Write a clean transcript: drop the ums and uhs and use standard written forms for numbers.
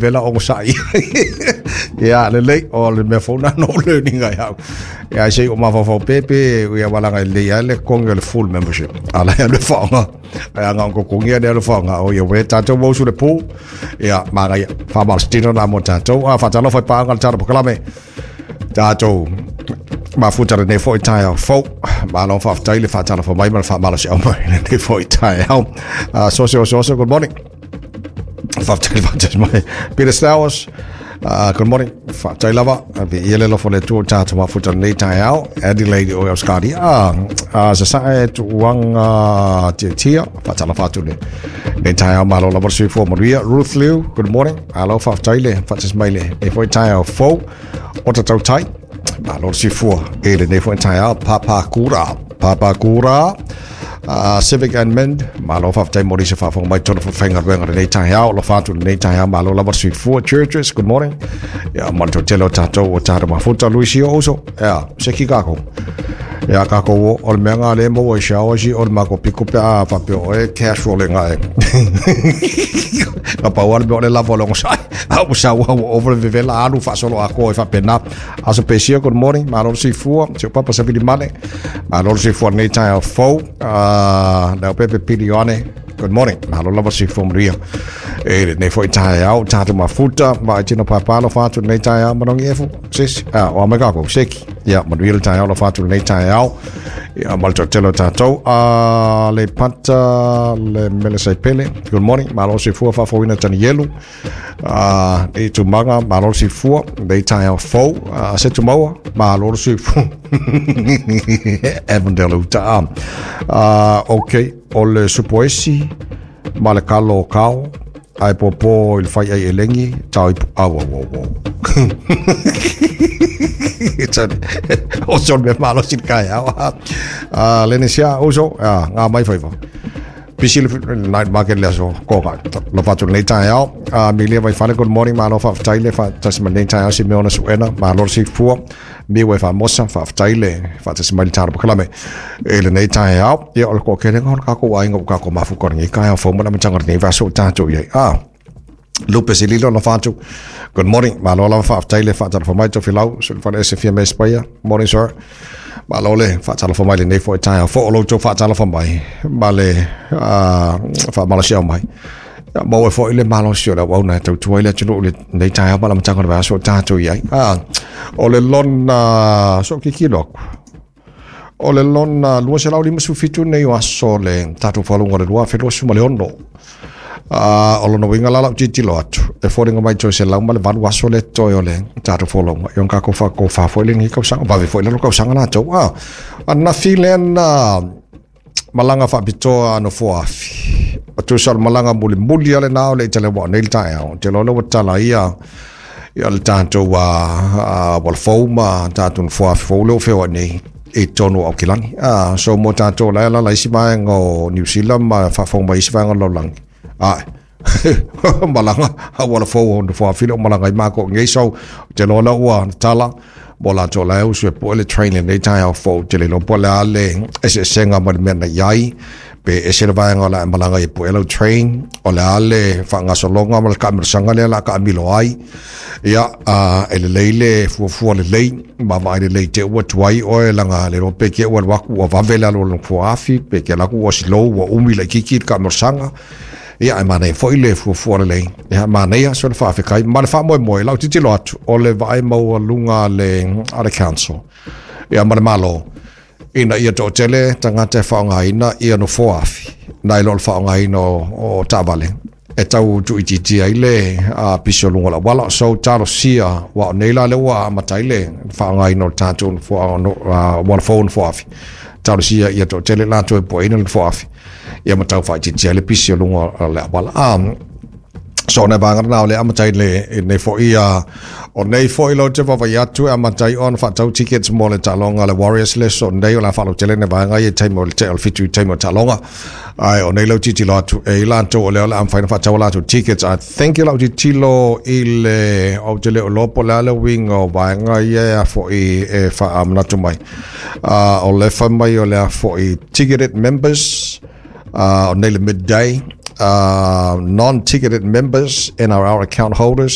Vela onosai. Ia, lelei, o le mea fou na no learning ai au. Ia, ai sei o mafaufau pepe, ia walaga i lei ai le kongi o le full membership. Ala ia le whaonga. Ai anga onko kongi a le whaonga. O ia we tātou wausu le pū. Ia, māga ia, whamalastino nā mo tātou. A, whatalofa i pānga le tātou pakalame. Tātou, mafuta le nei foi taeao fou. Malo whaafatai le whaatalofa mai ma le whaamalosi au mai le nei foi taeao. Sose, ose, ose, good morning. Whaafatai whaatai mai. Peter Stowers, good morning. Whaatai lava. Pe ia le lofo le tua tātou mafuta le nei taeao. Adelaide o Australia. Sa sa e tuanga tia tia. Whaatala whaatu le nei taeao. Malo lava le suifua manuia. Ruth Liu, good morning. Alo whaafatai le whaatas mai le nei foi taeao fou. O ta tautai. Malo le soifua e lenei foi taeao. Papakura. Papakura. Civic and Mind. Malo faafetai mo lise faafofoga mai tonu faigaluega lenei taeao. Lo fatu lenei taeao. Malo lava le soifua. Churches, good morning. Ia, ma le toatele o tatou o tatou mafuta. Luisi o uso. Ia, se ki kākou. Ia, kākou o le mea ngā le maua i shower si o le mako piko pe a whapeo o e cash roll ngā e. Ka pau ale mea o le lava o le ongosai. A ua sau au over le vevela alu faasolo akoa i faapena. Aso Pesia, good morning. Malo le soifua. Si o papa sa vili male. Malo le soifua lenei taeao fou. Leo pepe pili ioane. Good morning. Malo lava le soifua manuia. E lenei foi taeao, tātou mafuta. Ma ai tino pāpā lo whātu lenei taeao. Manongi efu. Sisi. Ah, o amai kākou. Seki. Ia, manuia le taeao lo whātu lenei taeao. Ia, ma le toatele o tātou. Le pata le mele saipele. Good morning. Malo soifua faafofoina Tanielu. I tumaga, malo le soifua, nei taeao fou. Se tumaua, malo le soifua. Avondale uta. Ok, o le supoesi ma le kalo o kao, ae popo i le fai ai elengi, tau ipu, au, au, au, au. O se o le mea malosi le kaeao. Lene sia, uso, ngā mai whaiwa. Pisi le night market le aso koka. Lo fatu lenei taeao. Milia Vaifale, good morning. Malo faafetai le faatasi mai lenei taeao si mea ona suena. Malo le soifua. Miu e faamosa, faafetai le faatasi mai le talo pakalame. E lenei taeao. Ia o le toatelega o le kākou aiga ua kākou mafuta o lenei taeao fou ma le amataga o lenei vaiaso ua tatou i ai. Lupe Sililo na whātu. Good morning. Malo lava faafetai le faatalofa mai Tofilau. Sulufale ese fia me Spaia. Morning sir. Malo le faatalofa mai lenei foi taeao. Fo o lo tou faatalofa mai. Ma le faamalosiau mai. Ia, maua foi le malosi o le auauna e tautua ai le atunuu i lenei taeao ma le amataga o le vaiaso o tatou i ai. O le lona so kikilo aku. O le lona 257 nei o aso le tatou faalogo o le 2026. O lona uiga la lau tilotilo atu, e foliga mai toe 108 aso le totoe o le tatou folauga. Ia ona tatou faatofa foi lenei tausaga, vave foi le tausaga latou. Ananafi lea na malaga faapitoa a nofoa afi. O tusa o le malaga mulimuli a lena o le i taleua o nei le taeao. Ou te iloa lea ua tala ia ia le tatou auala fou ma tatou nofoa afi fou lea ua feoai nei i totonu o Aukilani. So mo tatou la e alaala isi vaega o New Zealand ma faafofoga mai isi vaega o le lalolagi. Ae, malaga auala fou o nofoa afi lea ua malaga ai matou i nei. So, ou te iloa lea ua tala mo latou la e usu e pue le train i lenei taeao fou. Ou te le iloa po o le a le eseesega mai le mea na i ai, pe ese le vaega o le a e malaga ai e pue lau train, o le a le faagasologa ma le taamilosaga lea o le a taamilo ai. Ia, e lelei le fuafua lelei, ma vaai lelei te ua tuai oe laga le iloa pe te ua alu atu ua vave le alu o le nofoa afi, pe te alu atu ua slow ua umi laitiiti le taamilosaga. Ia, ae manaia foi le fuafua lelei. Ia, manaia so le faafetai ma le faamoemoe. Lau tilotilo atu, o le vaai maualuga a le council, ia ma le Malo, ina ia toatele tagata e faaaogaina ia nofoa afi, nai lo le faaaogaina o taavale, e tau tuuitiitia ai le pisi o luga o le auala. So, talosia, aua o nei la lea ua amata ai le faaaogaina o le tatou nofoa, auala fou o nofoa afi. Talosia ia toatele latou e pueina le nofoa afi, ia ma tau faaitiitia ai le pisi o luga o le auala. So o nai vaega lena o lea e amata ai le nei foi o nei foi lau te vaavaai atu e amata ai ona faatau tickets mo le taaloga a le Warriors le so nei o le a faalautele nai vaega ia i taimi o le tea o le 7 i taimi o taaloga. Ae o nei lau tilotilo atu e i latou o lea o le a mafai ona faatau a latou tickets. I think lau tilotilo i le ou te le o iloa po o le a le uiga o vaega ia e a foi e faamanatu mai. O le fai mai o le a foi ticketed members o nei le midday. Non-ticketed members, NRL account holders.